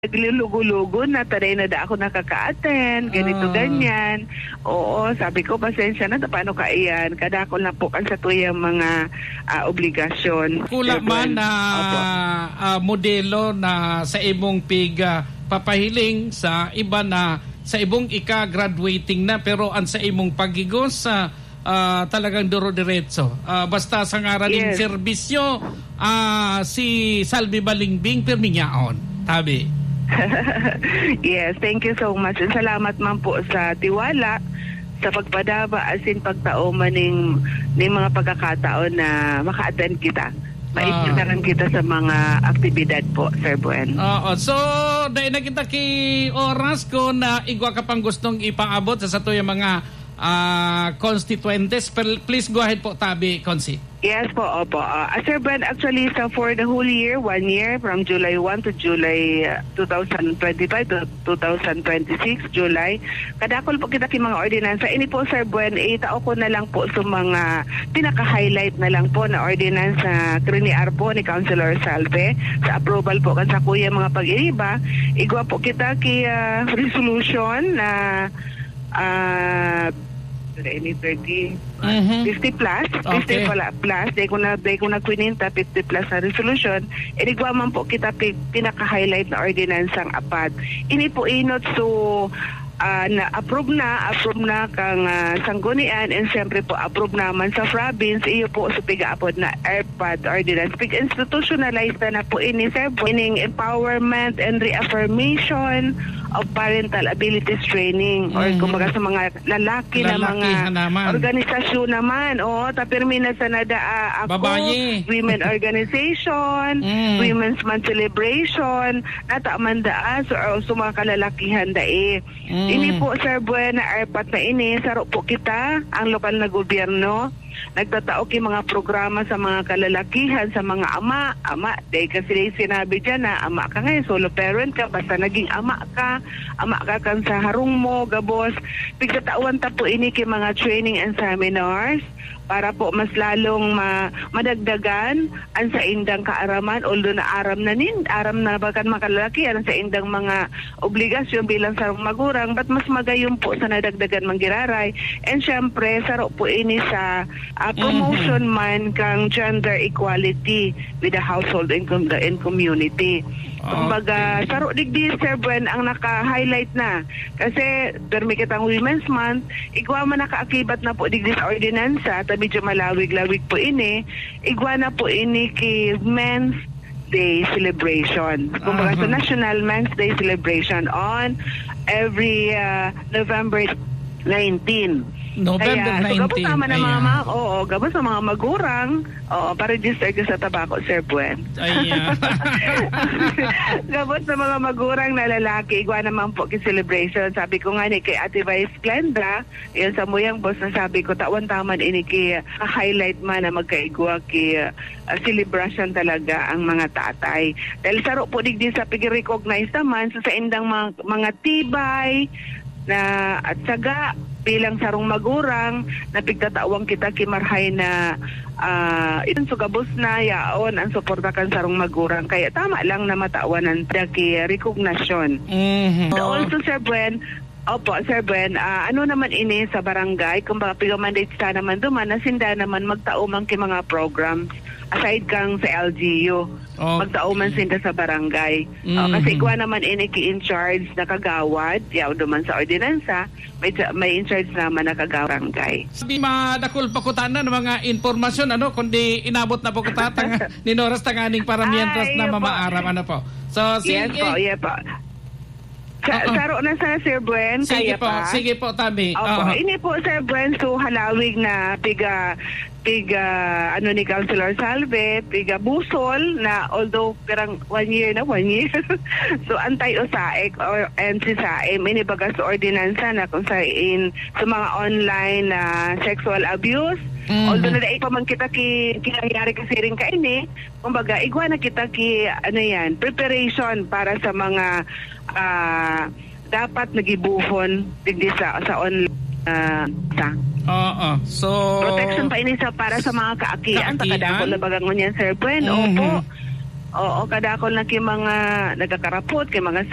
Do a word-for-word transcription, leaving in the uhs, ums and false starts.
naglulugo-lugo na, "Taray na da ako nakaka-attend," ganito, Ah. ganyan. Oo, sabi ko, "Pasensya na, paano ka iyan?" Kadakol na po kan satuyang mga, ah, obligasyon, Kula Sir man Gwen. na, Opo. ah, modelo na sa imong pig, ah, papahiling sa iba na sa ibong ika-graduating na, pero ang sa imong paghigos, ah, ah, talagang duro-diretso. Ah, basta sa ngaran ning Yes. serbisyo, ah, si Salvi Balingbing, pirming yaon. Tabi. Yes, thank you so much. And salamat man po sa tiwala, sa pagpadaba, asin pagtao man ning, ning mga pagkakataon na maka-attend kita. Ah. Maibigyan kita sa mga aktibidad po, Sir Buen. Oo. So, dahil na kita ki oras, kung, ah, igwa ka pang gustong ipaabot sa satuyang mga, ah, constituentes, pel-, please go ahead po, tabi, Consi. Yes po, opo. Ah, ah, Sir Buen, actually, sa for the whole year, one year, from July one to July, ah, two thousand twenty-five to two thousand twenty-six, July, kadakol po kita ki mga ordinansa. Ini po, Sir Buen, itao ko na lang po sa mga pinaka-highlight na lang po na ordinansa na triniar po ni Councilor Salve sa approval po kan sakuyang mga pag-iriba. Igwa po kita ki, ah, resolution na, ah, any thirty, Mhm. fifty plus, fifty Okay. pala, plus, dai ko na, dai ko na kwininta, fifty plus na resolution. Inigwa man po kita pi-, pinaka-highlight na ordinansang apat. Ini po inot, so, ah, na-approve na, approve na kang, ah, sanggunian, and siyempre po, approve naman sa province, iyo po sa piga-apod na airpad ordinance. Pig-institutionalize na, na po ini, Sir, ining empowerment and reaffirmation of parental abilities training, or Mhm. kumbaga sa mga lalaki na Lalaki mga na naman. organisasyon naman. Oo, tapirmi na sa nada, ah, ako, Babayi. women organization, Mm. women's month celebration, nata man daa, so, oh, so mga kalalakihan dai. Mm. Ini po, Sir Buen, na airpat na ini, saro po kita, ang lokal na gobyerno, nagtatao ki mga programa sa mga kalalakihan, sa mga ama. Ama, dai ka sila sinabi diyan na ama ka ngayon, solo parent ka, basta naging ama ka, ama ka kan sa harong mo, gabos. Pigtatawan ta po ini ki mga training and seminars para po mas lalong ma-, madagdagan ang saindang kaaraman, although na aram na nin-, aram na ba kan mga kalalakihan ang saindang mga obligasyon bilang sarong magurang, but mas magayon po sa nadagdagan man giraray. And syempre, saro po ini sa, ah, Mhm. promotion man kang gender equality with the household and com-, and community. Kumbaga, Okay. saro digdi, Sir Buen, ang naka-highlight na. Kasi, permi kitang Women's Month, igwa man nakaakibat na po digdi sa ordinansa, ta medyo malawig-lawig po ini, igwa na po ini ki Men's Day celebration. Kumbaga, sa Aha. National Men's Day celebration on every, ah, November nineteen. November Kaya, so, gabos nineteen, naman ang mga, ayan. mga, oo, gabos ang mga magurang, oo, pa-register ka sa tabako, Sir Buen. Ayan. Gabos sa mga magurang na lalaki, igwa naman po ki celebration. Sabi ko nga ni kay Ate Vice Glenda, yun sa muyang boss na sabi ko, tawan taman ini ki, ah, highlight man na magkaigwa ki, ah, celebration talaga ang mga tatay. Dahil saro po digdi sa pag-recognize naman sa saindang mga, mga tibay na at saga bilang sarong magurang, napigtatawan kita ki marhay na, ah, yun, so gabos na yaon ang suporta kan sarong magurang. Kaya tama lang na matawan ang ki recognition. Mhm. And also, Sir Buen, opo, Sir Buen, ah, ano naman ini sa barangay? Kumbaga, piga-mandate sa naman duman na sinda naman magtao man ki mga programs aside kang sa L G U. Okay. Magtao man sinda sa barangay. Oh, kasi Mhm. igwa naman ini ki in charge na kagawad, yaw duman sa ordinansa, may cha-, may in charge naman na kagawad barangay. Sabi, madakul pa kutana ng mga impormasyon, ano, kundi inabot na po kutatang ninoras tanganing para mientras Ay, na opo. mamaaram, ano po. So, Yes sige. po, yes po. Sa, Oo. saro na sa Sir Buen, Sige kaya po, pa? sige po, tabi. Opo, Oo. ini po, Sir Buen, so halawig na piga, piga, ano ni Councilor Salve, piga busol na, although pirang one year na, one year. So, antay-usaek or M C sa M, ini baga sa ordinansa na kung sa in, sa mga online na sexual abuse. Mhm. Although na dai pa man kita ki-, kinangyari kasi rin kaini, kumbaga, igwa na kita ki, ano yan, preparation para sa mga, ah, dapat nagibuhon digdi sa, sa online, ah, sa Oo. So, Protection pa ini sa, para sa mga kaakian, Kaakian? pakadakol na bagang ngunyan, Sir Buen. Mhm. Opo. Oo, kadakol na ki mga nagkakarapot, ki mga